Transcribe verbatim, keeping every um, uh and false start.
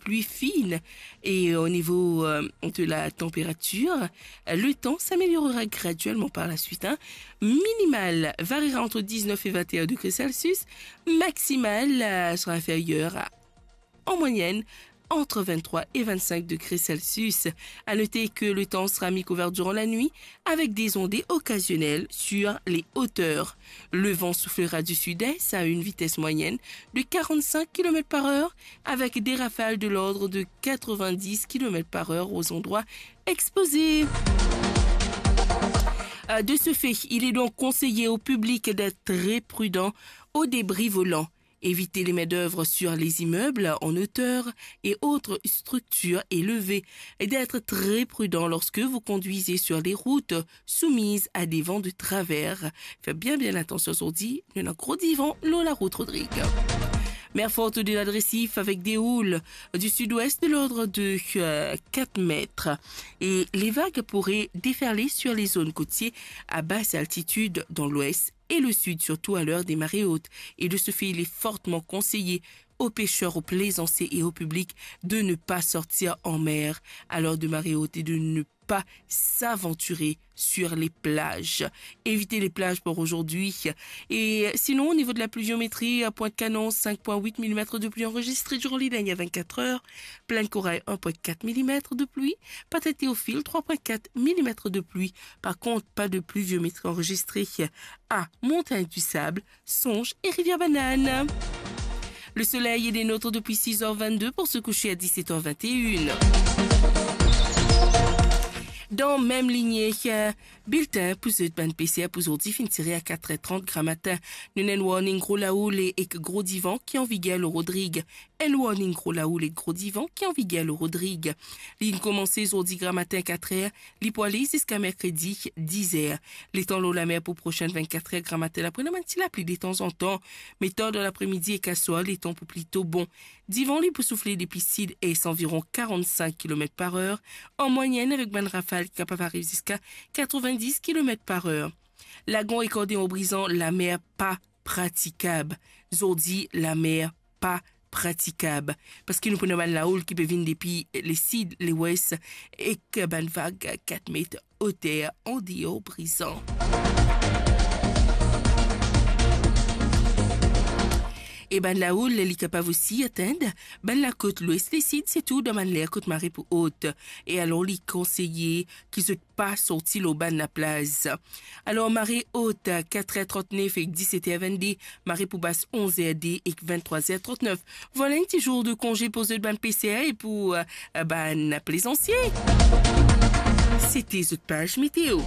pluie fine. Et au niveau, euh, de la température, euh, le temps s'améliorera graduellement par la suite, hein. Minimal variera entre dix-neuf et vingt et un degrés Celsius. Maximal, euh, sera inférieur à, en moyenne, entre vingt-trois et vingt-cinq degrés Celsius. À noter que le temps sera mi-couvert durant la nuit avec des ondées occasionnelles sur les hauteurs. Le vent soufflera du sud-est à une vitesse moyenne de quarante-cinq kilomètres par heure avec des rafales de l'ordre de quatre-vingt-dix kilomètres par heure aux endroits exposés. Euh, de ce fait, il est donc conseillé au public d'être très prudent aux débris volants. Évitez les main-d'œuvre sur les immeubles en hauteur et autres structures élevées et d'être très prudent lorsque vous conduisez sur les routes soumises à des vents de travers. Fer bien, bien atansion zordi, nou ena gro divan lor larout, Rodrig. Mer forte de la Dresif avec des houles du sud-ouest de l'ordre de, euh, quatre mètres. Et les vagues pourraient déferler sur les zones côtières à basse altitude dans l'ouest et le sud, surtout à l'heure des marées hautes. Et de ce fait, il est fortement conseillé aux pêcheurs, aux plaisanciers et au public de ne pas sortir en mer à l'heure de marée haute et de ne pas s'aventurer sur les plages. Évitez les plages pour aujourd'hui. Et sinon, au niveau de la pluviométrie, à Pointe-Canon, cinq point huit millimètres de pluie enregistrée durant les dernières vingt-quatre heures. Plaine Corail, un point quatre millimètres de pluie. Patate Théophile, trois point quatre millimètres de pluie. Par contre, pas de pluviométrie enregistrée à Montagne du Sable, Songe et Rivière Banane. Le soleil est des nôtres depuis six heures vingt-deux pour se coucher à dix-sept heures vingt et une. Dan mem linie, euh, bilten pou zot bann PCR pou zordi finn tire a quatre heures trente gramatin. Nou ena enn warning gro lahoul ek gro divan ki an viger lor Rodrig. Enn warning gro lahoul ek gro divan ki an viger lor Rodrig. Li'nn koumanse zordi gramatin quatre heures, li pou ale ziska merkredi diz heures. Letan lor lamer pou prosenn vingt-quatre heures, gramatin la pou ena bann ti lapli detanzantan, me tar dan lapremidi ek aswar, letan pou plito bon. Divan li pou soufle depi sid-est anviron quarante-cinq kilomètres par heure an mwayenn, avek bann rafal ki kapav ariv ziska quatre-vingt-dix kilomètres par heure. Lagon ek Andeor Brizan, lamer pa pratikab. Zordi, lamer pa pratikab, parski nou pou ena bann lahoul ki pe vinn depi lesid, lewes, ek bann vag kat met oter Andeor Brizan. E bann lahoul, li kapav osi atenn bann lakot lwes, lesid, sirtou dan bann ler kot mare pou ot. E alor, li konseye ki zot pa sorti lor bann laplaz. Alor, mare ot, quatre heures trente-neuf ek dix-sept heures vingt-deux, mare pou bas, onze heures deux ek vingt-trois heures trente-neuf. Vwala enn ti zour de konze pou zot bann peser e pou, euh, bann plezansie. Sete zot paz meteo.